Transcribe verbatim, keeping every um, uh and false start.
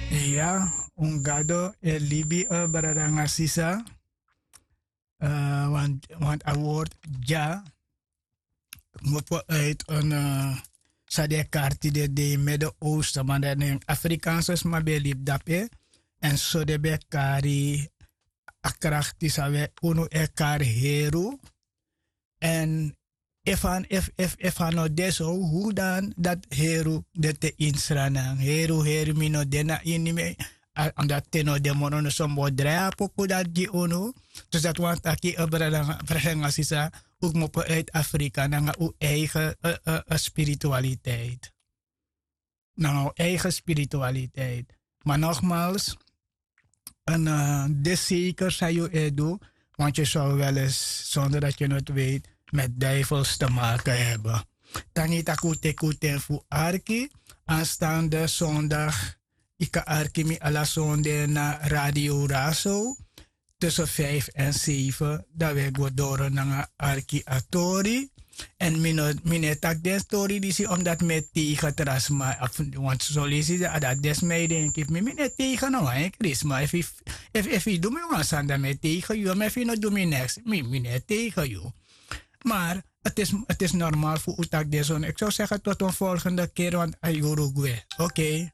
Ya, un gado e libi, brada nanga sisa. Want a word dya kmopo uit en sadi e karti de de in mede oosten man dan en afrikaanse sma ben e libi dape. En so den ben e kari a krakti san wi unu e kari heru. Èn efu a no de so, hu dan dati heru de te ini sranan? Heru heru mi no de na ini mi. Omdat te no de moro no so mi bo drai a poku dati gi unu. Dus dati wani taki, brada nanga sisa, un kmopo uit afrika nanga un eigen spiritualiteit. Nanga un eigen spiritualiteit. Maar nogmaals, en de zeker san yu e du, want yu zou wel eens zonder dat yu het weet met duivels te maken hebben. Tangi taki un teki un ten fu arki. Aanstaande zondag yu kan arki mi ala sonde na radio raso tussen vijf en zeven, dan wi e go doro nanga arki a tori. Èn mi no e taki den tori disi omdat mi e tegen tra sma. Want soleisi a dati den sma e denki fu mi mi no e tegen no wan enkri sma. Efu yu du mi wan sani dan mi e tegen yu, ma efu yu no du mi neks mi mi no e tegen yu. Maar het is normaal fu un taki den soni eki sou segi tot un volgende keri want a yuru gwe. Oke.